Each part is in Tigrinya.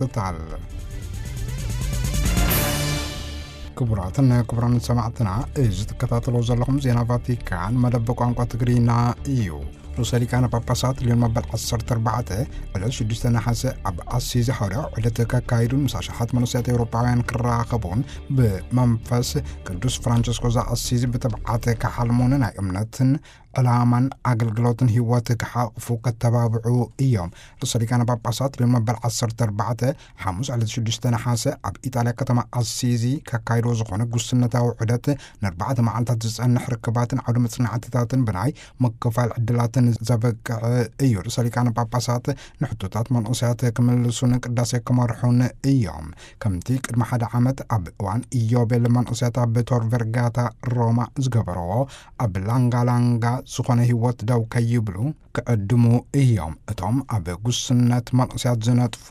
ይሓትታል። ክቡራትን ክቡራን ሰማዕትና፣ እዚ ትከታተሎ ዘለኹም ዜና ቫቲካን መደብ ቋንቋ ትግርኛ እዩ። ርእሰ ሊቃነ ጳጳሳት ሊዮን መበል ዓሰርተ ኣርባዕተ ዕለት ሽዱሽተ ነሓሰ ኣብ ኣሲዚ ሓዋርያዊ ዑደት ከካይዱን ምስ ኣሽሓት መንእሰያት ኤውሮጳውያን ክራኸቡን ብመንፈስ ቅዱስ ፍራንቸስኮ ዘኣሲዚ ብትብዓት ክሓልሙን ናይ እምነትን ዕላማን ኣገልግሎትን ህይወት ክሓቕፉ ከተባብዑ እዮም። ርእሰ ሊቃነ ጳጳሳት ሊዮን መበል ዓሰርተ ኣርባዕተ ሓሙስ ዕለት ሽዱሽተ ነሓሰ ኣብ ኢጣልያ ከተማ ኣሲዚ ከካይድዎ ዝኾነ ጉስነታዊ ዑደት ንኣርባዕተ መዓልታት ዝጸንሕ ርክባትን ዓውደ መጽናዕትታትን ብናይ ምክፋል ዕድላትን ዘበቅዕ እዩ። ርእሰ ሊቃነ ጳጳሳት ንሕቶታት መንእሰያት ክምልሱን ቅዳሴ ክመርሑን እዮም። ከምቲ ቅድሚ ሓደ ዓመት ኣብ እዋን ኢዮቤል መንእሰያት ኣብ ቶር ቨርጋታ ሮማ ዝገበረዎ፣ ኣብ ላንጋ ላንጋ ዝኾነ ህይወት ደው ከይብሉ ክዕድሙ እዮም። እቶም ኣብ ጉስነት መንእሰያት ዝነጥፉ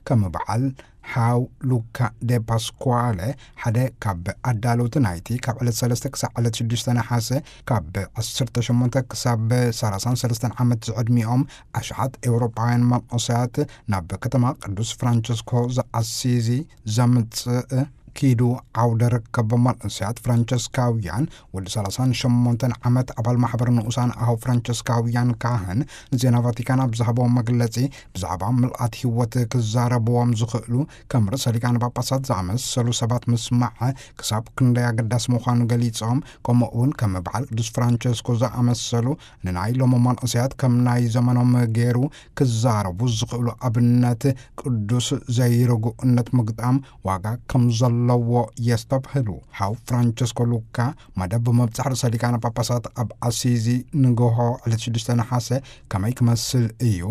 ከም በዓል ሓው ሉካ ደ ፓስኳለ፣ ሓደ ካብ ኣዳለውቲ ናይቲ ካብ ዕለት ሰለስተ ክሳብ ዕለት ሽዱሽተ ነሓሰ ካብ ዓሰርተ ሸሞንተ ክሳብ ሰላሳን ሰለስተን ዓመት ዝዕድሚኦም ኣሽሓት ኤውሮጳውያን መንእሰያት ናብ ከተማ ቅዱስ ፍራንቸስኮ ዘኣሲዚ ዘምጽእ ኪዱ ዓውደ ርክብ መንእሰያት ፍራንቸስካውያን፣ ወዲ ሰላሳን ሸሞንተን ዓመት ኣባል ማሕበር ንኡሳን ኣሃው ፍራንቸስካውያን ካህን ንዜና ቫቲካን ኣብ ዝሃቦ መግለጺ፣ ብዛዕባ ምልኣት ህይወት ክዛረብዎም ዝኽእሉ ከም ርእሰ ሊቃነ ጳጳሳት ዝኣመሰሉ ሰባት ምስማዕ ክሳብ ክንደይ ኣገዳሲ ምዃኑ ገሊጾም፣ ከምኡ እውን ከም በዓል ቅዱስ ፍራንቸስኮ ዝኣመሰሉ ንናይ ሎሚ መንእሰያት ከም ናይ ዘመኖም ገይሩ ክዛረቡ ዝኽእሉ ኣብነት ቅዱስ ዘይርጉእነት ምግጣም ዋጋ ከም ዘለዎ የስተብህሉ። ሓው ፍራንቸስኮ ሉካ መደብ ብምብጻሕ ርእሰ ሊቃነ ጳጳሳት ኣብ ኣሲዚ ንግሆ ዕለት ሽዱሽተ ነሓሰ ከመይ ክመስል እዩ?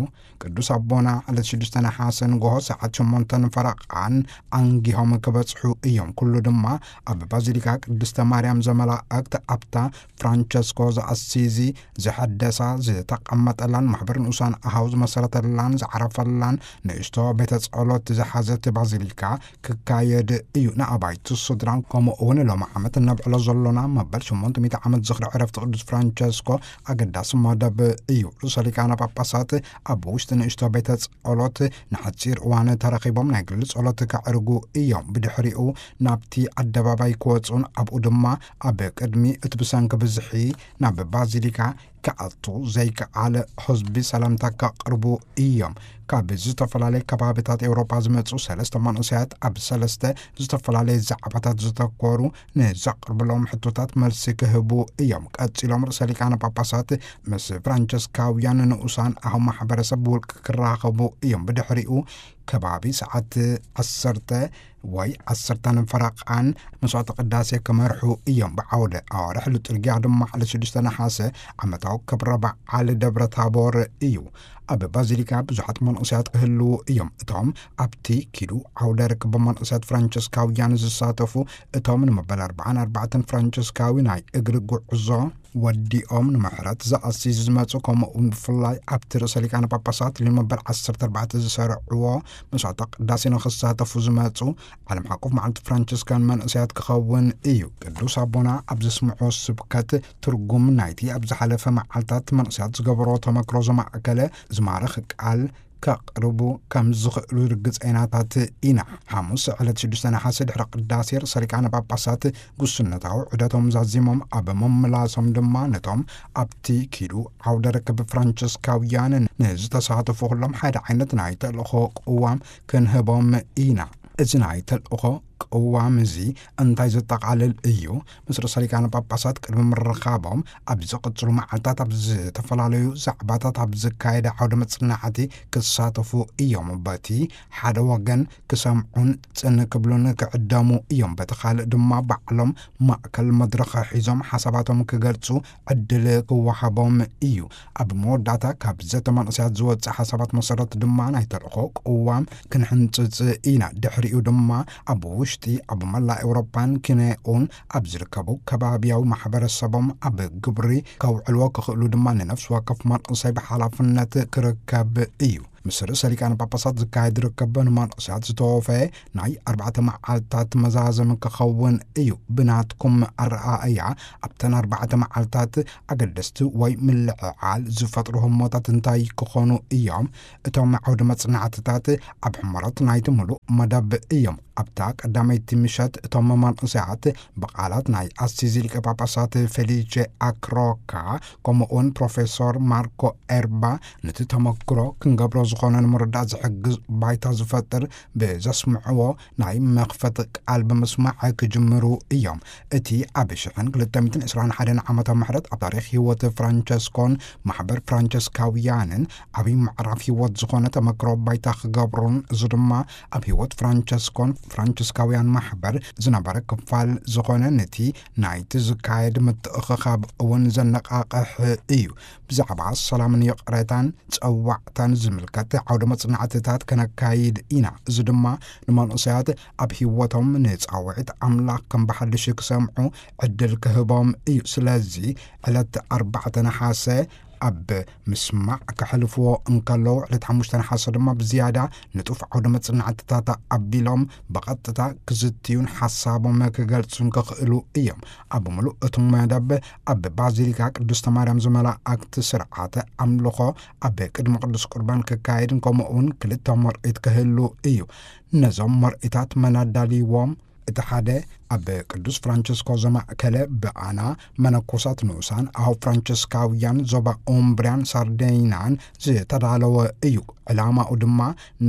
ቅዱስ ኣቦና ዕለት ሽዱሽተ ነሓሰ ንግሆ ሰዓት ሸሞንተን ፈረቓን ኣንጊሆም ክበጽሑ እዮም። ኩሉ ድማ ኣብ ባዚሊካ ቅድስተ ማርያም ዘመላእክት ኣብታ ፍራንቸስኮ ዘኣሲዚ ዝሐደሳ፣ ዝተቐመጠላን ማሕበር ንኡሳን ኣሃው ዝመሰረተላን ዝዓረፈላን ንእሽቶ ቤተ ጸሎት ዝሓዘት ባዚሊካ ክካየድ እዩ። ንኣባይቲ ስድራን ከምኡ እውን ሎሚ ዓመት እነብዕሎ ዘሎና መበል ሸሞንተ ሚእቲ ዓመት ዝኽሪ ዕረፍቲ ቅዱስ ፍራንቸስኮ ኣገዳሲ መደብ እዩ። ርእሰ ሊቃነ ጳጳሳት ኣብ ውሽጢ ንእሽቶ ቤተ ጸሎት ንሓጺር እዋን ተረኺቦም ናይ ግሊ ጸሎት ከዕርጉ እዮም። ብድሕሪኡ ናብቲ ኣደባባይ ክወጹን ኣብኡ ድማ ኣብ ቅድሚ እቲ ብሰንኪ ብዝሒ ናብ ባዚሊካ ክኣቱ ዘይከኣለ ህዝቢ ሰላምታ ከቕርቡ እዮም። ካብ ዝተፈላለየ ከባቢታት ኤውሮጳ ዝመጹ ሰለስተ መንእሰያት ኣብ ሰለስተ ዝተፈላለየ ዛዕባታት ዝተኮሩ ንዘቕርብሎም ሕቶታት መልሲ ክህቡ እዮም። ቀጺሎም ርእሰ ሊቃነ ጳጳሳት ምስ ፍራንቸስካውያን ንኡሳን ኣሃው ማሕበረሰብ ብውልቂ ክራኸቡ እዮም። ብድሕሪኡ ከባቢ ሰዓት ዓሰርተ ወይ ዓሰርተን ፈረቓን መስዋዕተ ቅዳሴ ክመርሑ እዮም። ብዓውደ ኣዋርሕ ሉጥርጊያ ድማ ዕለት ሽዱሽተ ነሓሰ ዓመታዊ ክብረ በዓል ደብረ ታቦር እዩ። ኣብ ባዚሊካ ብዙሓት መንእሰያት ክህልዉ እዮም። እቶም ኣብቲ ኪዱ ዓውደ ርክብ መንእሰያት ፍራንቸስካውያን ዝሳተፉ፣ እቶም ንመበል ኣርባዓን ኣርባዕተን ፍራንቸስካዊ ናይ እግሪ ጉዕዞ ወዲኦም ንምሕረት ዘኣሲዝ ዝመጹ፣ ከምኡ እውን ብፍላይ ኣብቲ ርእሰ ሊቃነ ጳጳሳት ሊዮን መበል ዓሰርተ ኣርባዕተ ዝሰርዕዎ መስዋዕተ ቅዳሴ ንኽሳተፉ ዝመጹ ዓለም ሓቆፍ መዓልቲ ፍራንቸስካን መንእሰያት ክኸውን እዩ። ቅዱስ ኣቦና ኣብ ዘስምዖ ስብከት ትርጉም ናይቲ ኣብ ዝሓለፈ መዓልታት መንእሰያት ዝገበሮ ተመክሮ ዘማእከለ ዝማርኽ ቃል ከቕርቡ ከም ዝኽእሉ ርግጸይናታት ኢና። ሓሙስ ዕለት ሽዱሽተ ነሓሰ ድሕሪ ቅዳሴ ርእሰ ሊቃነ ጳጳሳት ጉስነታዊ ዑደቶም ዛዚሞም ኣብ ምምላሶም ድማ ነቶም ኣብቲ ኪዱ ዓውደ ርክብ ፍራንቸስካውያን ንዝተሳተፉ ኩሎም ሓደ ዓይነት ናይ ተልእኾ ቅዋም ክንህቦም ኢና። እዚ ናይ ተልእኾ ቅዋም እዚ እንታይ ዘጠቓልል እዩ? ምስ ርእሰ ሊቃነ ጳጳሳት ቅድሚ ምርኻቦም ኣብ ዝቕጽሉ መዓልታት ኣብ ዝተፈላለዩ ዛዕባታት ኣብ ዝካየደ ዓውደ መጽናዕቲ ክሳተፉ እዮም። በቲ ሓደ ወገን ክሰምዑን ጽን ክብሉን ክዕደሙ እዮም። በቲ ካልእ ድማ ባዕሎም ማእከል መድረኽ ሒዞም ሓሳባቶም ክገልጹ ዕድል ክወሃቦም እዩ። ኣብ መወዳእታ ካብ ዘተ መንእሰያት ዝወጽእ ሓሳባት መሰረት ድማ ናይ ተልእኾ ቅዋም ክንሕንጽጽ ኢና። ድሕሪኡ ድማ ኣብ ውሽጢ ኣብ መላእ ኤውሮፓን ኪነኡን ኣብ ዝርከቡ ከባብያዊ ማሕበረሰቦም ኣብ ግብሪ ከውዕልዎ ክኽእሉ ድማ ንነፍሲ ወከፍ መንእሰይ ብሓላፍነት ክርከብ እዩ። ምስ ርእሰ ሊቃነ ጳጳሳት ዝካየድ ርከብ ንመንእሰያት ዝተወፈየ ናይ ኣርባዕተ መዓልታት መዛዘሚ ክኸውን እዩ። ብናትኩም ኣረኣእያ፣ ኣብተን ኣርባዕተ መዓልታት ኣገደስቲ ወይ ምልዕዓል ዝፈጥሩ ህሞታት እንታይ ክኾኑ እዮም? እቶም ዓውደ መጽናዕትታት ኣብ ሕመረት ናይቲ ምሉእ መደብ እዮም። ኣብታ ቀዳመይቲ ምሸት እቶም መንእሰያት ብቓላት ናይ ኣሲዚ ሊቀ ጳጳሳት ፌሊቼ ኣክሮካ፣ ከምኡውን ፕሮፌሶር ማርኮ ኤርባ፣ ነቲ ተመክሮ ክንገብሮ ዝኾነ ንምርዳእ ዝሕግዝ ባይታ ዝፈጥር ብዘስምዕዎ ናይ መኽፈቲ ቃል ብምስማዕ ክጅምሩ እዮም። እቲ ኣብ ሽሕን ክልተ ሚእትን ዕስራን ሓደን ዓመተ ምሕረት ኣብ ታሪኽ ህይወት ፍራንቸስኮን ማሕበር ፍራንቸስካውያንን ዓብዪ ምዕራፍ ህይወት ዝኾነ ተመክሮ ባይታ ክገብሩን፣ እዚ ድማ ኣብ ህይወት ፍራንቸስኮን ፍራንቸስካውያን ማሕበር ዝነበረ ክፋል ዝኾነ ነቲ ናይቲ ዝካየድ ምትእኽኻብ እውን ዘነቓቕሕ እዩ። ብዛዕባ ሰላምን ይቕሬታን ጸዋዕታን ዝምልከት ዓውደ መጽናዕትታት ከነካይድ ኢና። እዚ ድማ ንመንእሰያት ኣብ ህይወቶም ንጻውዒት ኣምላኽ ከም ብሓድሽ ክሰምዑ ዕድል ክህቦም እዩ። ስለዚ ዕለት ኣርባዕተ ነሓሰ ኣብ ምስማዕ ከሕልፍዎ እንከለዉ፣ ዕለት ሓሙሽተ ነሓሰ ድማ ብዝያዳ ንጡፍ ዓውደ መጽናዕትታት ኣቢሎም ብቐጥታ ክዝትዩን ሓሳቦም ክገልጹን ክኽእሉ እዮም። ኣብ ምሉእ እቲ መደብ ኣብ ባዚሊካ ቅድስተ ማርያም ዝመላእክት ስርዓተ ኣምልኾ ኣብ ቅድሚ ቅዱስ ቁርባን ክካየድን ከምኡ እውን ክልተ መርኢት ክህሉ እዩ። ነዞም መርኢታት መን ኣዳልይዎም? እቲ ሓደ ኣብ ቅዱስ ፍራንቸስኮ ዘማእከለ ብኣና መነኮሳት ንኡሳን ኣው ፍራንቸስካውያን ዞባ ኡምብርያን ሳርዴይናን ዝተዳለወ እዩ። ዕላማኡ ድማ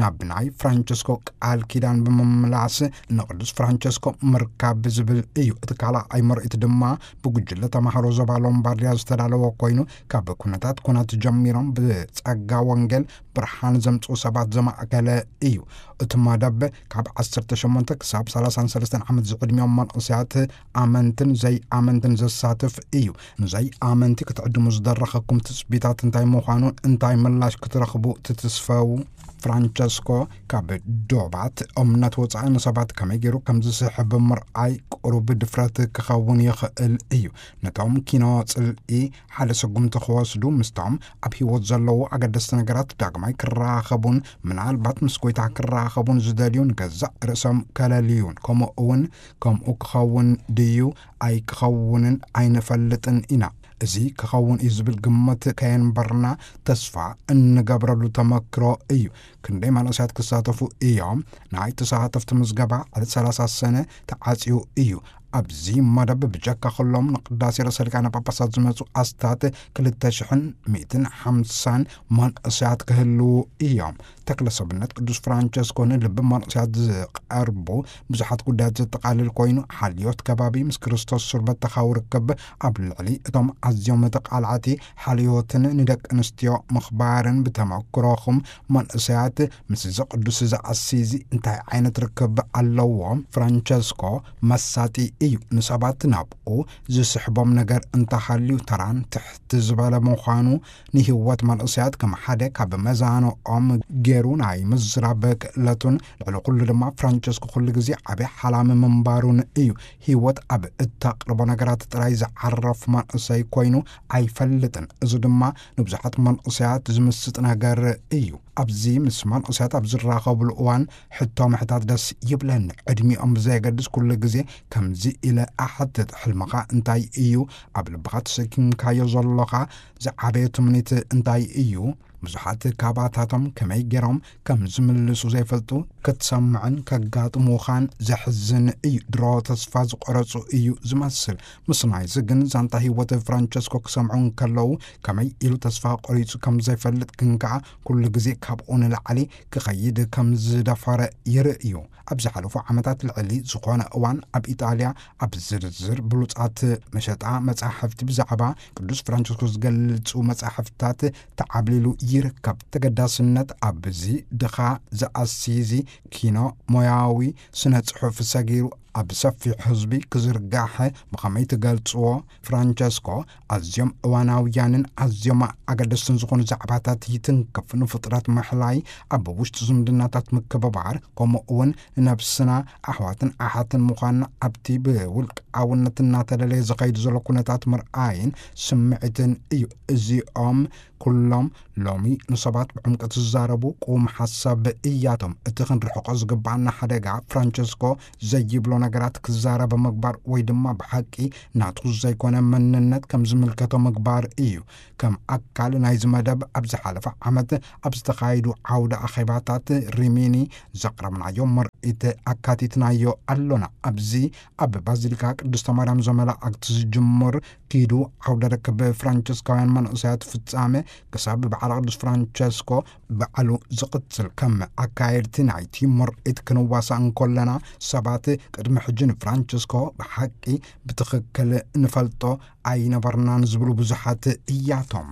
ናብ ናይ ፍራንቸስኮ ቃል ኪዳን ብምምላስ ንቅዱስ ፍራንቸስኮ ምርካብ ዝብል እዩ። እቲ ካልኣይ ምርኢት ድማ ብጉጅለ ተማሃሮ ዞባ ሎምባርድያ ዝተዳለወ ኮይኑ፣ ካብ ኩነታት ኩናት ጀሚሮም ብጸጋ ወንጌል ብርሃን ዘምጽኡ ሰባት ዘማእከለ እዩ። እቲ መደብ ካብ ዓሰርተ ሸሞንተ ክሳብ ሰላሳን ሰለስተን ዓመት ዝዕድሚኦም መንእሰያት ኣመንትን ዘይኣመንትን ዘሳትፍ እዩ። ንዘይኣመንቲ ክትዕድሙ ዝደረኸኩም ትጽቢታት እንታይ ምዃኑን እንታይ ምላሽ ክትረኽቡ ትትስፈው? ፍራንቸስኮ ካብ ዶባት እምነት ወጻኢ ንሰባት ከመይ ገይሩ ከም ዝስሕብ ምርኣይ ቁሩብ ድፍረት ክኸውን ይኽእል እዩ። ነቶም ኪኖ ጽልኢ ሓደ ስጉምቲ ክወስዱ፣ ምስቶም ኣብ ህይወት ዘለዉ ኣገደስቲ ነገራት ዳግማይ ክራኸቡን ምናልባት ምስ ጎይታ ክራኸቡን ዝደልዩ ንገዛእ ርእሶም ከለልዩን፣ ከምኡ እውን ከምኡ ክኸውን ድዩ ኣይክኸውንን ኣይንፈልጥን ኢና። እዚ ክኸውን እዩ ዝብል ግምት ከየንበርና ተስፋ እንገብረሉ ተመክሮ እዩ። ክንደይ መንእሰያት ክሳተፉ እዮም? ናይ ተሳተፍቲ ምዝገባ ዕለት ሰላሳ ሰነ ተዓጽዩ እዩ። ኣብዚ መደብ ብጀካ ኩሎም ንቅዳሴ ርእሰ ሊቃነ ጳጳሳት ዝመጹ ኣስታት ክልተ ሽሕን ሚእትን ሓምሳን መንእሰያት ክህልዉ እዮም። ተክለ ሰብነት ቅዱስ ፍራንቸስኮ ንልቢ መንእሰያት ዝቐርቡ ብዙሓት ጉዳያት ዘጠቓልል ኮይኑ፣ ሓልዮት ከባቢ፣ ምስ ክርስቶስ ሱር በተኻዊ ርክብ፣ ኣብ ልዕሊ እቶም ኣዝዮም ተቓላዕቲ ሓልዮትን ንደቂ ኣንስትዮ ምኽባርን ብተመክሮኹም መንእሰያት ምስ እዚ ቅዱስ እዚ ኣሲዚ እንታይ ዓይነት ርክብ ኣለዎም? ፍራንቸስኮ መሳጢ እዩ። ንሰባት ናብኡ ዝስሕቦም ነገር እንተሃልዩ፣ ተራን ትሕቲ ዝበለ ምዃኑ፣ ንህይወት መንእሰያት ከም ሓደ ካብ መዛንኦም ገይሩ ናይ ምዝራብ ክእለቱን፣ ልዕሊ ኩሉ ድማ ፍራንቸስኮ ኩሉ ግዜ ዓቢ ሓላሚ ምንባሩን እዩ። ህይወት ኣብ እተቕርቦ ነገራት ጥራይ ዝዓረፍ መንእሰይ ኮይኑ ኣይፈልጥን። እዚ ድማ ንብዙሓት መንእሰያት ዝምስጥ ነገር እዩ። ኣብዚ ምስ መንእሰያት ኣብ ዝራኸብሉ እዋን ሕቶ ምሕታት ደስ ይብለኒ። ዕድሚኦም ብዘየገድስ ኩሉ ግዜ ከምዚ ኢለ እሓትት፣ ሕልምኻ እንታይ እዩ? ኣብ ልብኻ ተሰኪምካዮ ዘሎኻ ዝዓበየ ትምኒት እንታይ እዩ? ብዙሓት ካባታቶም ከመይ ገይሮም ከም ዝምልሱ ዘይፈልጡ ክትሰምዕን ከጋጥሙኻን ዘሕዝን እዩ። ድሮ ተስፋ ዝቆረጹ እዩ ዝመስል። ምስ ናይዚ ግን ዛንታ ህይወት ፍራንቸስኮ ክሰምዑ እንከለዉ ከመይ ኢሉ ተስፋ ቆሪጹ ከም ዘይፈልጥ ግን ከኣ ኩሉ ግዜ ካብኡ ንላዕሊ ክኸይድ ከም ዝደፈረ ይርእዩ። ኣብ ዝሓለፉ ዓመታት ልዕሊ ዝኾነ እዋን ኣብ ኢጣልያ ኣብ ዝርዝር ብሉጻት መሸጣ መጻሕፍቲ ብዛዕባ ቅዱስ ፍራንቸስኮ ዝገልጹ መጻሕፍትታት ተዓብሊሉ ይርከብ። ተገዳስነት ኣብዚ ድኻ ዘኣሲዚ ኪኖ ሞያዊ ስነ ጽሑፍ ሰጊሩ ኣብ ሰፊሕ ህዝቢ ክዝርጋሕ ብኸመይ ትገልጽዎ? ፍራንቸስኮ ኣዝዮም እዋናውያንን ኣዝዮም ኣገደስትን ዝኾኑ ዛዕባታት ይትንክፍ። ንፍጥረት ምሕላይ፣ ኣብ ውሽጢ ዝምድናታት ምክብባር፣ ከምኡ እውን ንነብስና ኣሕዋትን ኣሓትን ምዃንና ኣብቲ ብውልቃውነት እናተለለየ ዝኸይድ ዘሎ ኩነታት ምርኣይን ስምዒትን እዩ። እዚኦም ኩሎም ሎሚ ንሰባት ብዕምቀት ዝዛረቡ ቁም ሓሳብ እያቶም። እቲ ክንርሕቆ ዝግባኣና ሓደጋ፣ ፍራንቸስኮ ዘይብሎ ነገራት ክዛረብ ምግባር ወይ ድማ ብሓቂ ናቱ ዘይኮነ መንነት ከም ዝምልከቶ ምግባር እዩ። ከም ኣካል ናይዚ መደብ፣ ኣብ ዝሓለፈ ዓመት ኣብ ዝተኻየዱ ዓውደ ኣኼባታት ሪሚኒ ዘቕረብናዮ ምርኢት ኣካቲትናዮ ኣሎና። ኣብዚ ኣብ ባዚሊካ ቅድስተ ማርያም ዘመላእክት ዝጅምር ኪዱ ዓውደ ርክብ ፍራንቸስካውያን መንእሰያት ፍጻመ ክሳብ በዓለ ቅዱስ ፍራንቸስኮ በዓሉ ዝቕጽል። ከም ኣካየድቲ ናይቲ ምርኢት ክንዋሳእ እንከለና፣ ሰባት ቅድሚ ሕጂ ንፍራንቸስኮ ብሓቂ ብትኽክል ንፈልጦ ኣይነበርናን ዝብሉ ብዙሓት እያቶም።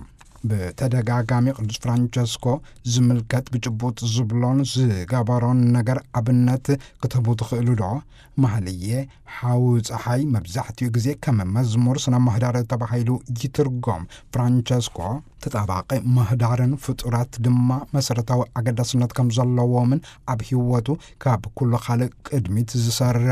ብተደጋጋሚ ቅዱስ ፍራንቸስኮ ዝምልከት ብጭቡጥ ዝብሎን ዝገበሮን ነገር ኣብነት ክትህቡ ትኽእሉ ዶ? ማህልየ ሓው ጸሓይ መብዛሕትኡ ግዜ ከም መዝሙር ስነ ምህዳር ተባሂሉ ይትርጎም። ፍራንቸስኮ ተጣባቂ ምህዳርን ፍጡራት ድማ መሰረታዊ ኣገዳስነት ከም ዘለዎምን ኣብ ህይወቱ ካብ ኩሉ ካልእ ቅድሚት ዝሰርዕ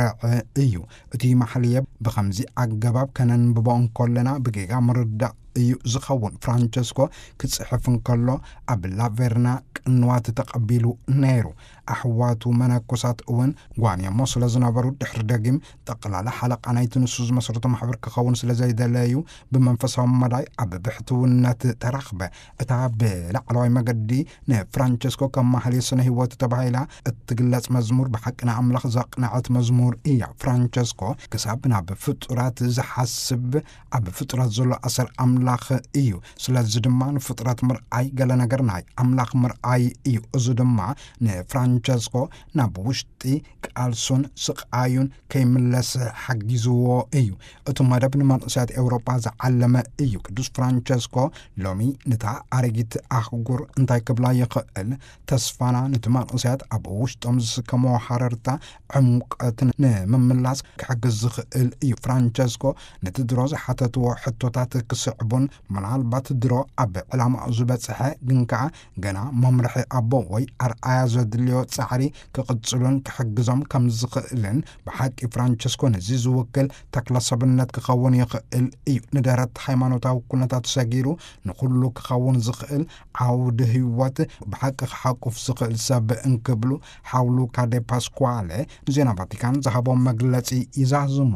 እዩ። እቲ ማሕልየ ብኸምዚ ኣገባብ ከነንብቦ እንከለና ብጌጋ ምርዳእ እዩ ዝኸውን። ፍራንቸስኮ ክጽሕፍ እንከሎ ኣብ ላቬርና ቅንዋት ተቐቢሉ ነይሩ። ኣሕዋቱ መነኮሳት እውን ጓንየሞ ስለ ዝነበሩ፣ ድሕሪ ደጊም ጠቕላላ ሓለቓ ናይቲ ንሱ ዝመስረቶ ማሕበር ክኸውን ስለ ዘይደለዩ፣ ብመንፈሳዊ መዳይ ኣብ ብሕትውነት ተረኽበ። እታ ብላዕለዋይ መገዲ ንፍራንቸስኮ ከም ማህሌት ስነ ህይወት ተባሂላ እትግለጽ መዝሙር ብሓቂ ንኣምላኽ ዘቕነዐት መዝሙር እያ። ፍራንቸስኮ ክሳብ ናብ ፍጡራት ዝሓስብ፣ ኣብ ፍጡራት ዘሎ ኣሰር ኣምላኽ እዩ። ስለዚ ድማ ንፍጡራት ምርኣይ ገለ ነገር ናይ ኣምላኽ ምርኣይ እዩ። እዚ ድማ ንፍራንቸስኮ ናብ ውሽጢ ቃልሱን ስቓዩን ከይምለስ ሓጊዝዎ እዩ። እቲ መደብ ንመንእሰያት ኤውሮጳ ዝዓለመ እዩ። ቅዱስ ፍራንቸስኮ ሎሚ ነታ ኣረጊት ኣህጉር እንታይ ክብላ ይኽእል? ተስፋና ነቲ መንእሰያት ኣብ ውሽጦም ዝስከምዎ ሃረርታ ዕምቀት ንምምላስ ክሕግዝ ዝኽእል እዩ። ፍራንቸስኮ ነቲ ድሮ ዝሓተትዎ ሕቶታት ክስዕቡን፣ ምናልባት ድሮ ኣብ ዕላማኡ ዝበጽሐ ግን ከኣ ገና መምርሒ ኣቦ ወይ ኣርኣያ ዘድልዮ ጻዕሪ ክቕጽሉን ክሕግዞም ከም ዝኽእልን፣ ብሓቂ ፍራንቸስኮ ነዚ ዝውክል ተክለ ሰብነት ክኸውን ይኽእል እዩ። ንደረት ሃይማኖታዊ ኩነታት ሰጊሩ ንኹሉ ክኸውን ዝኽእል ዓውዲ ህይወት ብሓቂ ክሓቁፍ ዝኽእል ሰብ እንክብሉ ሓው ሉካ ዴ ፓስኳለ ንዜና ቫቲካን ዝሃቦ መግለጺ ይዛዝሙ።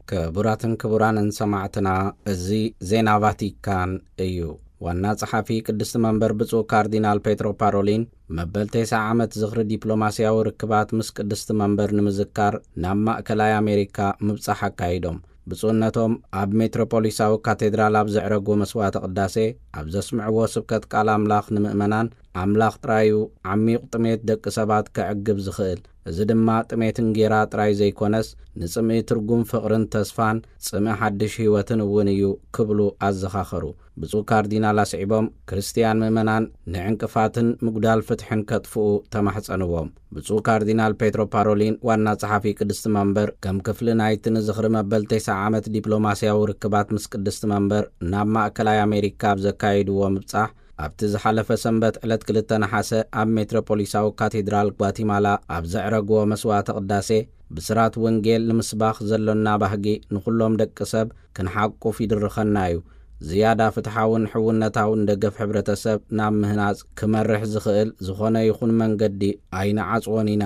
ክቡራትን ክቡራንን ሰማዕትና፣ እዚ ዜና ቫቲካን እዩ። ዋና ጸሓፊ ቅድስቲ መንበር ብፁዕ ካርዲናል ፔትሮ ፓሮሊን መበል ተስዓ ዓመት ዝኽሪ ዲፕሎማስያዊ ርክባት ምስ ቅድስቲ መንበር ንምዝካር ናብ ማእከላይ ኣሜሪካ ምብጻሕ ኣካይዶም። ብፁዕነቶም ኣብ ሜትሮፖሊሳዊ ካቴድራል ኣብ ዘዕረግዎ መስዋዕተ ቅዳሴ ኣብ ዘስምዕዎ ስብከት ቃል ኣምላኽ ንምእመናን፣ ኣምላኽ ጥራዩ ዓሚቕ ጥሜት ደቂ ሰባት ከዕግብ ዝኽእል፣ እዚ ድማ ጥሜት እንጌራ ጥራይ ዘይኮነስ፣ ንጽምኢ ትርጉም ፍቕርን ተስፋን፣ ጽምኢ ሓድሽ ህይወትን እውን እዩ ክብሉ ኣዘኻኸሩ። ብፁዕ ካርዲናል ኣስዒቦም፣ ክርስትያን ምእመናን ንዕንቅፋትን ምጉዳል ፍትሕን ከጥፍኡ ተማሕጸንዎም። ብፁዕ ካርዲናል ፔትሮ ፓሮሊን፣ ዋና ጸሓፊ ቅድስቲ መንበር፣ ከም ክፍሊ ናይቲ ንዝኽሪ መበል ተስዓ ዓመት ዲፕሎማስያዊ ርክባት ምስ ቅድስቲ መንበር ናብ ማእከላይ ኣሜሪካ ኣብ ዘካየድዎ ምብጻሕ፣ ኣብቲ ዝሓለፈ ሰንበት ዕለት ክልተ ነሓሰ ኣብ ሜትሮፖሊሳዊ ካቴድራል ጓቲማላ ኣብ ዘዕረግዎ መስዋዕተ ቅዳሴ፣ ብስራት ወንጌል ንምስባኽ ዘሎና ባህጊ ንኹሎም ደቂ ሰብ ክንሓቁፍ ይድርኸና እዩ። ዝያዳ ፍትሓውን ሕውነታውን ደገፍ ሕብረተሰብ ናብ ምህናጽ ክመርሕ ዝኽእል ዝኾነ ይኹን መንገዲ ኣይንዓጽዎን ኢና።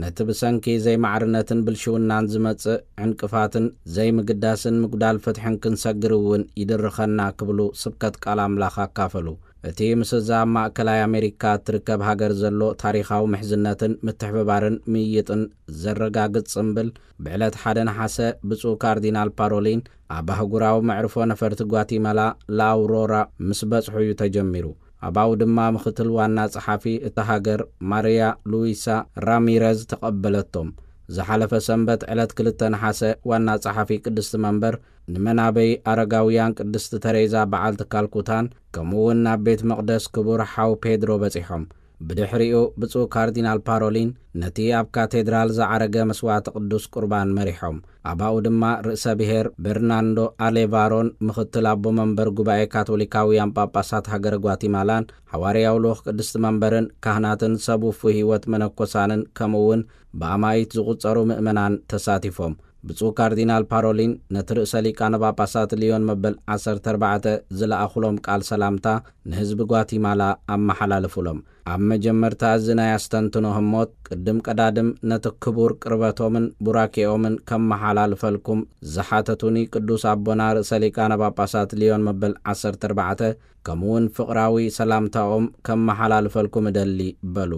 ነቲ ብሰንኪ ዘይማዕርነትን ብልሽውናን ዝመጽእ ዕንቅፋትን ዘይምግዳስን ምጉዳል ፍትሕን ክንሰግር እውን ይድርኸና ክብሉ ስብከት ቃል ኣምላኽ ኣካፈሉ። እቲ ምስዛ ኣብ ማእከላይ ኣሜሪካ እትርከብ ሃገር ዘሎ ታሪኻዊ ምሕዝነትን ምትሕብባርን ምይይጥን ዘረጋግጽ ጽምብል፣ ብዕለት ሓደ ነሓሰ ብፁዕ ካርዲናል ፓሮሊን ኣብ ኣህጉራዊ መዕርፎ ነፈርቲ ጓቲማላ ላኣውሮራ ምስ በጽሑ እዩ ተጀሚሩ። ኣባኡ ድማ ምኽትል ዋና ጸሓፊ እታ ሃገር ማርያ ሉዊሳ ራሚረዝ ተቐበለቶም። ዝሓለፈ ሰንበት ዕለት ክልተ ነሓሰ ዋና ጸሓፊ ቅድስቲ መንበር ንመናበይ ኣረጋውያን ቅድስቲ ተሬዛ በዓልቲ ካልኩታን ከምኡ እውን ናብ ቤት መቕደስ ክቡር ሓው ፔድሮ በጺሖም። ብድሕሪኡ ብፁዕ ካርዲናል ፓሮሊን ነቲ ኣብ ካቴድራል ዝዓረገ መስዋዕቲ ቅዱስ ቁርባን መሪሖም። ኣባኡ ድማ ርእሰ ብሔር በርናንዶ ኣሌቫሮን ምኽትል ኣቦ መንበር ጉባኤ ካቶሊካውያን ጳጳሳት ሃገረ ጓቲማላን፣ ሓዋርያዊ ልኡኽ ቅድስቲ መንበርን፣ ካህናትን ሰብ ውፉይ ህይወት መነኮሳንን፣ ከምኡ እውን ብኣማኢት ዝቑጸሩ ምእመናን ተሳቲፎም። ብፁዕ ካርዲናል ፓሮሊን ነቲ ርእሰ ሊቃነ ጳጳሳት ሊዮን መበል ዓሰርተ ኣርባዕተ ዝለኣኹሎም ቃል ሰላምታ ንህዝቢ ጓቲማላ ኣመሓላልፉሎም። ኣብ መጀመርታ እዚ ናይ ኣስተንትኖ ህሞት፣ ቅድም ቀዳድም ነቲ ክቡር ቅርበቶምን ቡራኬኦምን ከመሓላልፈልኩም ዝሓተቱኒ ቅዱስ ኣቦና ርእሰ ሊቃነ ጳጳሳት ሊዮን መበል ዓሰርተ ኣርባዕተ፣ ከምኡውን ፍቕራዊ ሰላምታኦም ከመሓላልፈልኩም እደሊ በሉ።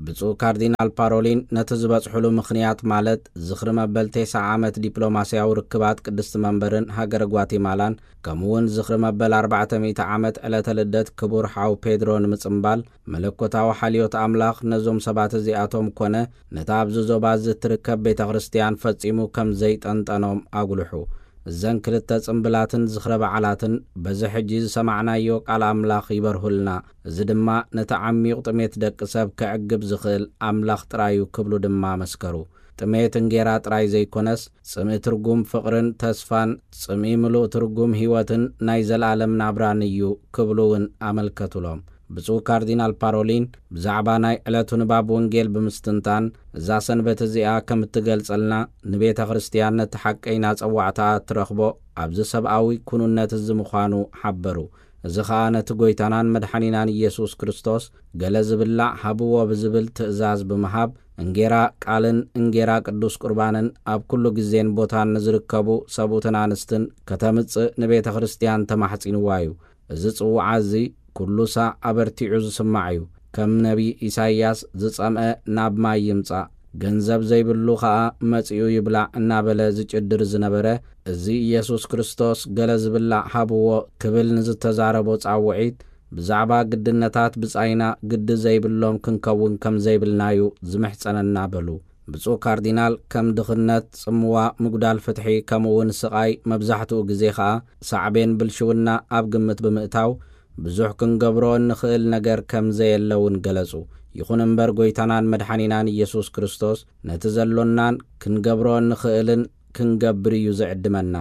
ብፁዕ ካርዲናል ፓሮሊን ነቲ ዝበጽሑሉ ምኽንያት፣ ማለት ዝኽሪ መበል ተስዓ ዓመት ዲፕሎማስያዊ ርክባት ቅድስቲ መንበርን ሃገረ ጓቲማላን፣ ከምኡውን ዝኽሪ መበል ኣርባዕተ ሚእቲ ዓመት ዕለተ ልደት ክቡር ሓው ፔድሮ ንምጽምባል፣ መለኮታዊ ሓልዮት ኣምላኽ ነዞም ሰባት እዚኣቶም ኮነ ነታ ኣብዚ ዞባ እዚ እትርከብ ቤተ ክርስቲያን ፈጺሙ ከም ዘይጠንጠኖም ኣጉልሑ። እዘን ክልተ ጽምብላትን ዝኽረ በዓላትን በዚ ሕጂ ዝሰማዕናዮ ቃል ኣምላኽ ይበርሁልና። እዚ ድማ ነቲ ዓሚቕ ጥሜት ደቂ ሰብ ከዕግብ ዝኽእል ኣምላኽ ጥራይ እዩ ክብሉ ድማ መስከሩ። ጥሜት እንጌራ ጥራይ ዘይኮነስ፣ ጽምኢ ትርጉም ፍቕርን ተስፋን፣ ጽምኢ ምሉእ ትርጉም ህይወትን ናይ ዘለኣለም ናብራን እዩ ክብሉ እውን ኣመልከቱሎም። ብፁዕ ካርዲናል ፓሮሊን ብዛዕባ ናይ ዕለቱ ንባብ ወንጌል ብምስትንታን፣ እዛ ሰንበት እዚኣ ከም እትገልጸልና፣ ንቤተ ክርስቲያን ነቲ ሓቀይና ጸዋዕታ እትረኽቦ ኣብዚ ሰብኣዊ ኩኑነት እዚ ምዃኑ ሓበሩ። እዚ ኸኣ ነቲ ጐይታናን መድሓኒናን ኢየሱስ ክርስቶስ ገለ ዝብላዕ ሃብዎ ብዝብል ትእዛዝ ብምሃብ፣ እንጌራ ቃልን እንጌራ ቅዱስ ቁርባንን ኣብ ኩሉ ግዜን ቦታን ንዝርከቡ ሰብኡትን ኣንስትን ከተምጽእ ንቤተ ክርስቲያን ተማሕጺንዋ እዩ። እዚ ጽውዓ እዚ ኩሉ ሳዕ ኣበርቲዑ ዝስማዕ እዩ። ከም ነቢ ኢሳይያስ፣ "ዝጸምአ ናብ ማይ ይምጻእ፣ ገንዘብ ዘይብሉ ኸኣ መጺኡ ይብላዕ" እናበለ ዝጭድር ዝነበረ፣ እዚ ኢየሱስ ክርስቶስ ገለ ዝብላዕ ሃብዎ ክብል ንዝተዛረቦ ጻውዒት፣ ብዛዕባ ግድነታት ብጻይና ግዲ ዘይብሎም ክንከውን ከም ዘይብልና እዩ ዝምሕጸነና በሉ። ብፁዕ ካርዲናል፣ ከም ድኽነት፣ ጽምዋ፣ ምጉዳል ፍትሒ፣ ከምኡ እውን ስቓይ፣ መብዛሕትኡ ግዜ ኸኣ ሳዕቤን ብልሽውና ኣብ ግምት ብምእታው፣ ብዙሕ ክንገብሮ እንኽእል ነገር ከም ዘየለ እውን ገለጹ። ይኹን እምበር፣ ጐይታናን መድሓኒናን ኢየሱስ ክርስቶስ ነቲ ዘሎናን ክንገብሮ እንኽእልን ክንገብር እዩ ዝዕድመና።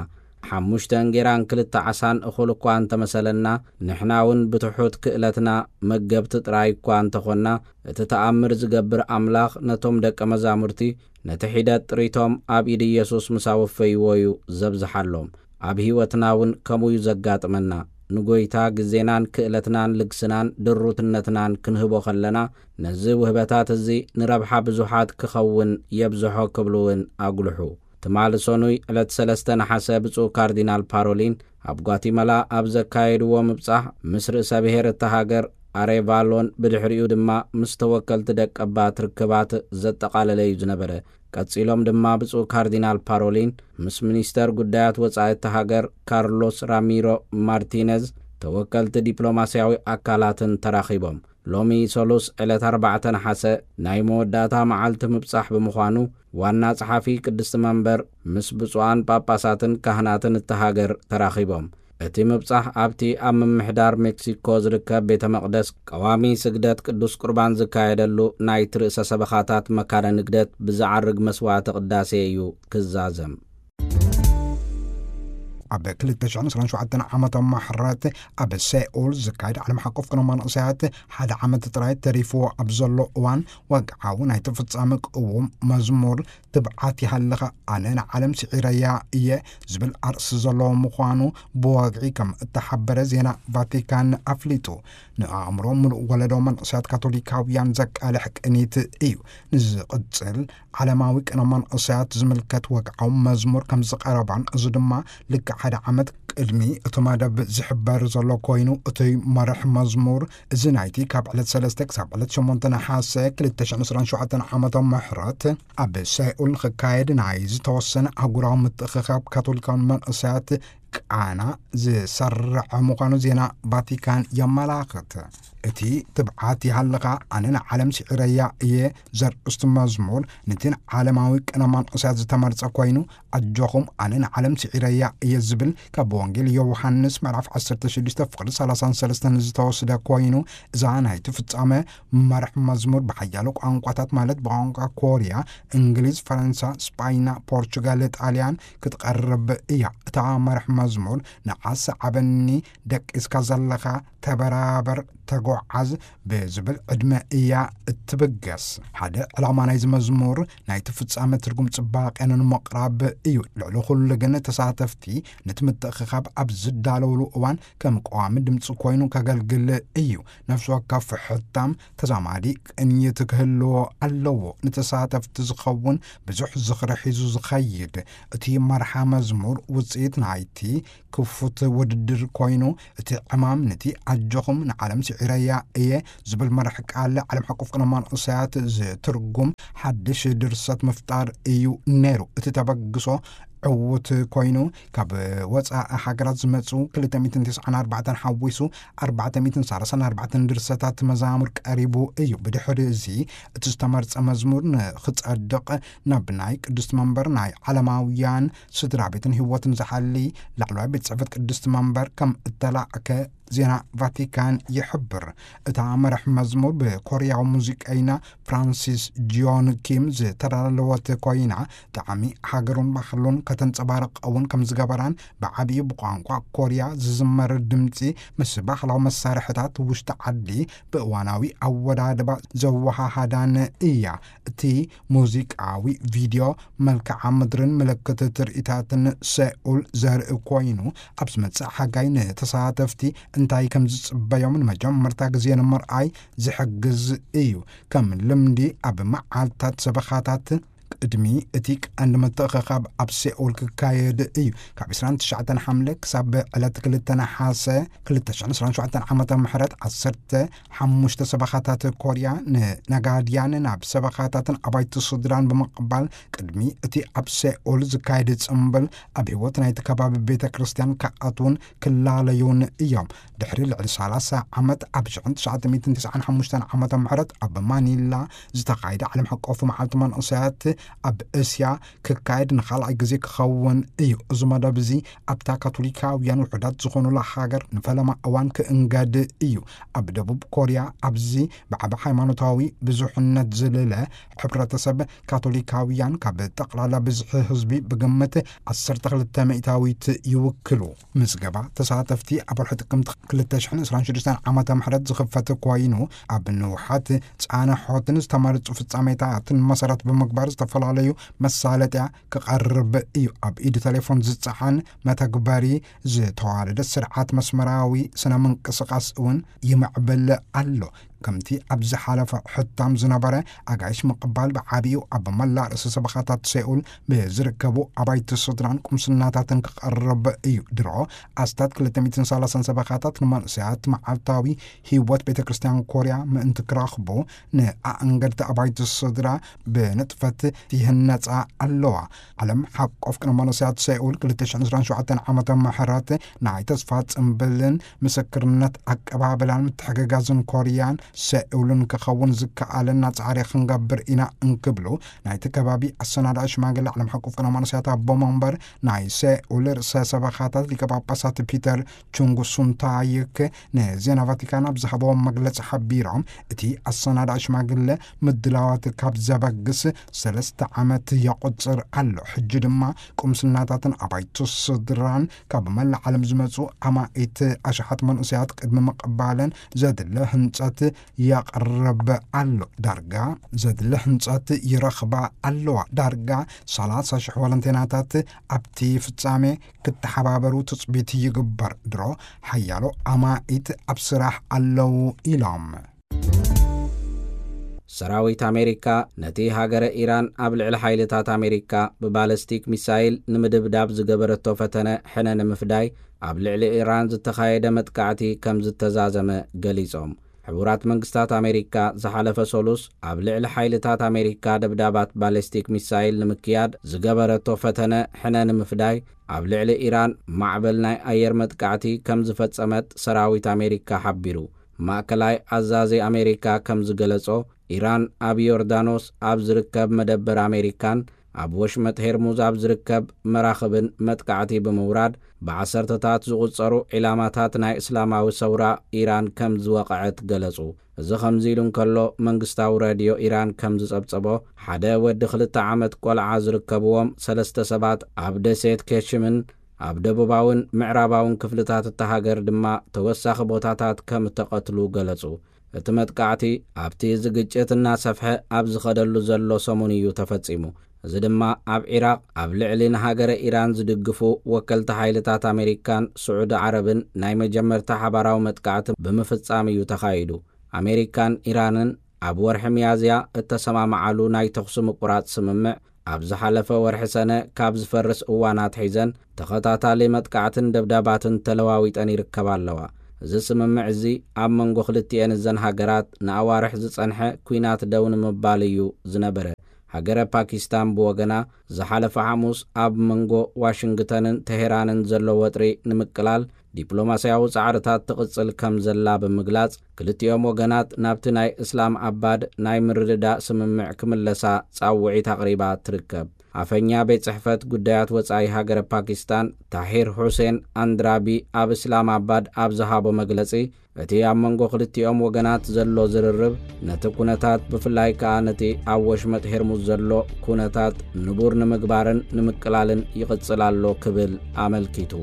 ሓሙሽተ እንጌራን ክልተ ዓሳን እኹል እኳ እንተመሰለና፣ ንሕና እውን ብትሑት ክእለትና መገብቲ ጥራይ እኳ እንተኾንና፣ እቲ ተኣምር ዝገብር ኣምላኽ ነቶም ደቀ መዛሙርቲ ነቲ ሒደት ጥሪቶም ኣብ ኢድ ኢየሱስ ምስ ኣወፈይዎ እዩ ዘብዝሓሎም። ኣብ ህይወትና እውን ከምኡ እዩ ዘጋጥመና። ንጐይታ ግዜናን ክእለትናን ልግስናን ድሩትነትናን ክንህቦ ከለና፣ ነዚ ውህበታት እዚ ንረብሓ ብዙሓት ክኸውን የብዝሖ ክብሉ እውን ኣጉልሑ። ትማሊ ሰኑይ ዕለት ሰለስተ ነሓሰ ብፁዕ ካርዲናል ፓሮሊን ኣብ ጓቲመላ ኣብ ዘካየድዎ ምብጻሕ፣ ምስ ርእሰ ብሔር እታ ሃገር ኣሬቫሎን ብድሕሪኡ ድማ ምስ ተወከልቲ ደቀባት ርክባት ዘጠቓለለ እዩ ዝነበረ። ቀጺሎም ድማ ብፁዕ ካርዲናል ፓሮሊን ምስ ሚኒስተር ጉዳያት ወጻኢ እታ ሃገር ካርሎስ ራሚሮ ማርቲነዝ፣ ተወከልቲ ዲፕሎማስያዊ ኣካላትን ተራኺቦም። ሎሚ ሰሉስ ዕለት ኣርባዕተ ነሓሰ ናይ መወዳእታ መዓልቲ ምብጻሕ ብምዃኑ፣ ዋና ጸሓፊ ቅድስቲ መንበር ምስ ብፁዓን ጳጳሳትን ካህናትን እታ ሃገር ተራኺቦም። እቲ ምብጻሕ ኣብቲ ኣብ ምምሕዳር ሜክሲኮ ዝርከብ ቤተ መቕደስ ቀዋሚ ስግደት ቅዱስ ቁርባን ዝካየደሉ ናይቲ ርእሰ ሰበኻታት መካነ ንግደት ብዝዓርግ መስዋዕቲ ቅዳሴ እዩ ክዛዘም። ኣብ ክልተ ሽሕን ዕስራን ሸውዓተን ዓመተ ምሕረት ኣብ ሴኡል ዝካየድ ዓለም ሓቆፍ ቅነ መንእሰያት ሓደ ዓመት ጥራይ ተሪፍዎ ኣብ ዘሎ እዋን፣ ወግዓዊ ናይቲ ፍጻመ ቅዉም መዝሙር "ትብዓት ይሃልኻ፣ ኣነ ንዓለም ስዒረያ እየ" ዝብል ኣርእስቲ ዘለዎ ምዃኑ ብወግዒ ከም እተሓበረ ዜና ቫቲካን ኣፍሊጡ። ንኣእምሮ ምሉእ ወለዶ መንእሰያት ካቶሊካውያን ዘቃልሕ ቅኒት እዩ። ንዝቕጽል ዓለማዊ ቅነ መንእሰያት ዝምልከት ወግዓዊ መዝሙር ከም ዝቐረባን፣ እዚ ድማ ልክዕ ሓደ ዓመት ቅድሚ እቲ መደብ ዝሕበር ዘሎ ኮይኑ፣ እቲ መርሕ መዝሙር እዚ ናይቲ ካብ ዕለት ሰለስተ ክሳብ ዕለት ሸሞንተ ነሓሰ ክልተ ሽሕን ዕስራን ሸውዓተን ዓመተ ምሕረት ኣብ ሴኡል ንኽካየድ ናይ ዝተወሰነ ኣህጉራዊ ምትእኽኻብ ካቶሊካውያን መንእሰያት ቃና ዝሰርዐ ምዃኑ ዜና ቫቲካን የመላኽት። እቲ ትብዓት ይሃልኻ ኣነ ንዓለም ስዒረያ እየ ዘርእስቱ መዝሙር፣ ነቲ ንዓለማዊ ቅነ መንእሰያት ዝተመርጸ ኮይኑ፣ ኣጆኹም ኣነ ንዓለም ስዒረያ እየ ዝብል ካብ ወንጌል ዮሃንስ ምዕራፍ ዓሰርተ ሽዱሽተ ፍቕዲ ሰላሳን ሰለስተን ዝተወስደ ኮይኑ፣ እዛ ናይቲ ፍጻመ መርሕ መዝሙር ብሓያሎ ቋንቋታት ማለት ብቋንቋ ኮርያ፣ እንግሊዝ፣ ፈረንሳ፣ ስጳይና፣ ፖርቹጋል፣ ጣልያን ክትቐርብ እያ። እታ መርሕ መዝሙር ንዓስ ዓበኒ፣ ደቂስካ ዘለኻ ተበራበር፣ ተጓዓዝ ብዝብል ዕድመ እያ እትብገስ። ሓደ ዕላማ ናይዚ መዝሙር ናይቲ ፍጻመ ትርጉም ጽባቐ ንምቕራብ እዩ። ልዕሊ ኩሉ ግን ተሳተፍቲ ነቲ ምትእኽኻብ ኣብ ዝዳለውሉ እዋን ከም ቀዋሚ ድምጺ ኮይኑ ከገልግል እዩ። ነፍሲ ወከፍ ሕታም ተዛማዲ ቅኝት ክህልዎ ኣለዎ። ንተሳተፍቲ ዝኸውን ብዙሕ ዝኽሪ ሒዙ ዝኸይድ እቲ መርሓ መዝሙር ውጽኢት ናይቲ ክፉት ውድድር ኮይኑ፣ እቲ ዕማም ነቲ ኣጆኹም ንዓለም ስዒረያ እየ ዝብል መርሕ ቃል ዓለም ሓቆፍ ቅነ መንእሰያት ዝትርጉም ሓድሽ ድርሰት ምፍጣር እዩ ነይሩ። እቲ ተበግሶ ዕዉት ኮይኑ፣ ካብ ወጻኢ ሃገራት ዝመጹ ክልተ ሚእትን ተስዓን ኣርባዕተን ሓዊሱ ኣርባዕተ ሚእትን ሰላሳን ኣርባዕተን ድርሰታት መዛሙር ቀሪቡ እዩ። ብድሕሪ እዚ እቲ ዝተመርጸ መዝሙር ንኽጸድቕ ናብ ናይ ቅድስቲ መንበር ናይ ዓለማውያን ስድራ ቤትን ህይወትን ዝሓሊ ላዕለዋይ ቤት ጽሕፈት ቅድስቲ መንበር ከም እተላእከ ዜና ቫቲካን ይሕብር። እታ መርሕ መዝሙር ብኮርያዊ ሙዚቀኛ ፍራንሲስ ጂዮን ኪም ዝተዳለወት ኮይና፣ ጣዕሚ ሃገሩን ባህሉን ከተንጸባርቕ እውን ከም ዝገበራን፣ ብዓቢኡ ብቋንቋ ኮርያ ዝዝመር ድምጺ ምስ ባህላዊ መሳርሕታት ውሽጢ ዓዲ ብእዋናዊ ኣወዳድባ ዘወሃሃዳን እያ። እቲ ሙዚቃዊ ቪድዮ መልክዓ ምድርን ምልክት ትርኢታትን ሴኡል ዘርኢ ኮይኑ፣ ኣብ ዝመጽእ ሓጋይ ንተሳተፍቲ እንታይ ከም ዝጽበዮም ንመጀመርታ ግዜ ንምርኣይ ዝሕግዝ እዩ። ከም ልምዲ ኣብ መዓልታት ሰበኻታት ቅድሚ እቲ ቀንዲ ምትእኽኻብ ኣብ ሴኡል ክካየድ እዩ። ካብ ዕስራን ትሽዓተን ሓምለ ክሳብ ዕለት ክልተ ነሓሰ ክልተ ሽሕን ዕስራን ሸውዓተን ዓመተ ምሕረት ዓሰርተ ሓሙሽተ ሰበኻታት ኮርያ ንነጋድያን ናብ ሰበኻታትን ኣባይቲ ስድራን ብምቕባል፣ ቅድሚ እቲ ኣብ ሴኡል ዝካየድ ጽምብል ኣብ ህይወት ናይቲ ከባቢ ቤተ ክርስቲያን ክኣትዉን ክላለዩን እዮም። ድሕሪ ልዕሊ ሰላሳ ዓመት ኣብ ሽሕን ትሽዓተ ሚእትን ተስዓን ሓሙሽተን ዓመተ ምሕረት ኣብ ማኒላ ዝተኻየደ ዓለም ሓቆፍ መዓልቲ መንእሰያት ኣብ እስያ ክካየድ ንኻልኣይ ግዜ ክኸውን እዩ። እዚ መደብ እዚ ኣብታ ካቶሊካውያን ውሑዳት ዝኾኑላ ሃገር ንፈለማ እዋን ክእንገድ እዩ። ኣብ ደቡብ ኮርያ ኣብዚ ብዓቢ ሃይማኖታዊ ብዙሕነት ዝልለ ሕብረተሰብ ካቶሊካውያን ካብ ጠቕላላ ብዝሒ ህዝቢ ብግምት ዓሰርተ ክልተ ሚእታዊት ይውክሉ። ምዝገባ ተሳተፍቲ ኣብ ወርሒ ጥቅምቲ ክልተ ሽሕን ዕስራን ሽዱሽተን ዓመተ ምሕረት ዝኽፈት ኮይኑ፣ ኣብ ንውሓት ጻንሖትን ዝተመረጹ ፍጻሜታትን መሰረት ብምግባር ዝተፈላለዩ መሳለጥያ ክቐርብ እዩ። ኣብ ኢድ ቴሌፎን ዝጸዓን መተግበሪ ዝተዋደደ ስርዓት መስመራዊ ስነ ምንቅስቓስ እውን ይምዕብል ኣሎ። ከምቲ ኣብ ዝሓለፈ ሕታም ዝነበረ፣ ኣጋይሽ ምቕባል ብዓቢኡ ኣብ መላእ ርእሰ ሰበኻታት ሴኡል ብዝርከቡ ኣባይቲ ስድራን ቁምስናታትን ክቐርብ እዩ። ድሮ ኣስታት ክልተ ሚእትን ሰላሳን ሰበኻታት ንመንእሰያት መዓልታዊ ህይወት ቤተ ክርስቲያን ኮርያ ምእንቲ ክረኽቡ፣ ንኣእንገድቲ ኣባይቲ ስድራ ብንጥፈት ይህነጻ ኣለዋ። ዓለም ሓቆፍ ቅነ መንእሰያት ሴኡል ክልተ ሽሕን ዕስራን ሸውዓተን ዓመተ ምሕረት ናይ ተስፋ ጽምብልን ምስክርነት ኣቀባብላን ምትሕግጋዝን ኮርያን ሴኡልን ክኸውን ዝከኣለና ጻዕሪ ክንገብር ኢና እንክብሉ፣ ናይቲ ከባቢ ኣሰናዳኢ ሽማግለ ዓለም ሓቆፍ ቅነ መንእሰያት ኣቦ መንበር ናይ ሴኡል ርእሰ ሰበኻታት ሊቀ ጳጳሳት ፒተር ቹንጉ ሱንታይክ ንዜና ቫቲካን ኣብ ዝሃበዎ መግለጺ ሓቢሮም፣ እቲ ኣሰናዳኢ ሽማግለ ምድላዋት ካብ ዘበግስ ሰለስተ ዓመት የቑጽር ኣሎ። ሕጂ ድማ ቁምስናታትን ኣባይቲ ስድራን ካብ መላእ ዓለም ዝመጹ ኣማኢት ኣሽሓት መንእሰያት ቅድሚ ምቕባለን ዘድለ ህንጸት የቕርብ ኣሎ። ዳርጋ ዘድለ ህንጸት ይረኽባ ኣለዋ። ዳርጋ ሰላሳ ሽሕ ወለንቴናታት ኣብቲ ፍጻሜ ክተሓባበሩ ትጽቢት ይግበር። ድሮ ሓያሎ ኣማኢት ኣብ ስራሕ ኣለዉ ኢሎም። ሰራዊት ኣሜሪካ ነቲ ሃገረ ኢራን ኣብ ልዕሊ ሓይልታት ኣሜሪካ ብባለስቲክ ሚሳይል ንምድብዳብ ዝገበረቶ ፈተነ ሕነ ንምፍዳይ ኣብ ልዕሊ ኢራን ዝተኻየደ መጥቃዕቲ ከም ዝተዛዘመ ገሊጾም። ሕቡራት መንግስታት ኣሜሪካ ዝሓለፈ ሰሉስ ኣብ ልዕሊ ሓይልታት ኣሜሪካ ደብዳባት ባሊስቲክ ሚሳይል ንምክያድ ዝገበረቶ ፈተነ ሕነ ንምፍዳይ፣ ኣብ ልዕሊ ኢራን ማዕበል ናይ ኣየር መጥቃዕቲ ከም ዝፈጸመት ሰራዊት ኣሜሪካ ሓቢሩ። ማእከላይ ኣዛዚ ኣሜሪካ ከም ዝገለጾ፣ ኢራን ኣብ ዮርዳኖስ ኣብ ዝርከብ መደበር ኣሜሪካን ኣብ ወሽመጥ ሄርሙዝ ኣብ ዝርከብ መራኽብን መጥቃዕቲ ብምውራድ፣ ብዓሰርተታት ዝቑጸሩ ዒላማታት ናይ እስላማዊ ሰውራ ኢራን ከም ዝወቕዐት ገለጹ። እዚ ከምዚ ኢሉ እንከሎ፣ መንግስታዊ ሬድዮ ኢራን ከም ዝጸብጸቦ፣ ሓደ ወዲ ክልተ ዓመት ቆልዓ ዝርከብዎም ሰለስተ ሰባት ኣብ ደሴት ኬሽምን ኣብ ደቡባውን ምዕራባውን ክፍልታት እታ ሃገር ድማ ተወሳኺ ቦታታት ከም እተቐትሉ ገለጹ። እቲ መጥቃዕቲ ኣብቲ እዚ ግጭት እናሰፍሐ ኣብ ዝኸደሉ ዘሎ ሰሙን እዩ ተፈጺሙ። እዚ ድማ ኣብ ዒራቕ ኣብ ልዕሊ ንሃገረ ኢራን ዝድግፉ ወከልቲ ሓይልታት ኣሜሪካን ስዑዲ ዓረብን ናይ መጀመርታ ሓባራዊ መጥቃዕቲ ብምፍጻም እዩ ተኻይዱ። ኣሜሪካን ኢራንን ኣብ ወርሒ ሚያዝያ እተሰማምዓሉ ናይ ተኹሲ ምቁራጽ ስምምዕ፣ ኣብ ዝሓለፈ ወርሒ ሰነ ካብ ዝፈርስ እዋን ኣትሒዘን ተኸታታሊ መጥቃዕትን ደብዳባትን ተለዋዊጠን ይርከባ ኣለዋ። እዚ ስምምዕ እዚ ኣብ መንጎ ክልቲኤን እዘን ሃገራት ንኣዋርሕ ዝጸንሐ ኲናት ደው ንምባል እዩ ዝነበረ። ሃገረ ፓኪስታን ብወገና፣ ዝሓለፈ ሓሙስ ኣብ መንጎ ዋሽንግተንን ተሄራንን ዘሎ ወጥሪ ንምቅላል ዲፕሎማስያዊ ጻዕርታት ትቕጽል ከም ዘላ ብምግላጽ፣ ክልቲኦም ወገናት ናብቲ ናይ እስላም ኣባድ ናይ ምርድዳእ ስምምዕ ክምለሳ ጻውዒት ኣቕሪባ ትርከብ። ኣፈኛ ቤት ጽሕፈት ጉዳያት ወጻኢ ሃገረ ፓኪስታን ታሂር ሁሴን ኣንድራቢ ኣብ እስላም ኣባድ ኣብ ዝሃቦ መግለጺ፣ እቲ ኣብ መንጎ ክልቲኦም ወገናት ዘሎ ዝርርብ ነቲ ኩነታት፣ ብፍላይ ከኣ ነቲ ኣብ ወሽመጥ ሄርሙዝ ዘሎ ኩነታት ንቡር ንምግባርን ንምቅላልን ይቕጽል ኣሎ ክብል ኣመልኪቱ።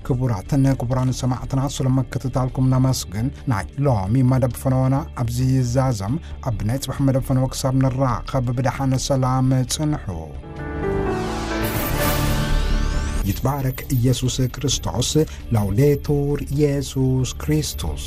ክቡራትን ክቡራን ሰማዕትና፣ ስለ ምክትታልኩም ነመስግን። ናይ ሎሚ መደብ ፈነወና ኣብዚ ይዛዘም። ኣብ ናይ ጽባሕ መደብ ፈነወ ክሳብ ንራኸብ ብደሓን ሰላም ጽንሑ። ይትባረክ ኢየሱስ ክርስቶስ። ላውዴቱር ኢየሱስ ክርስቶስ።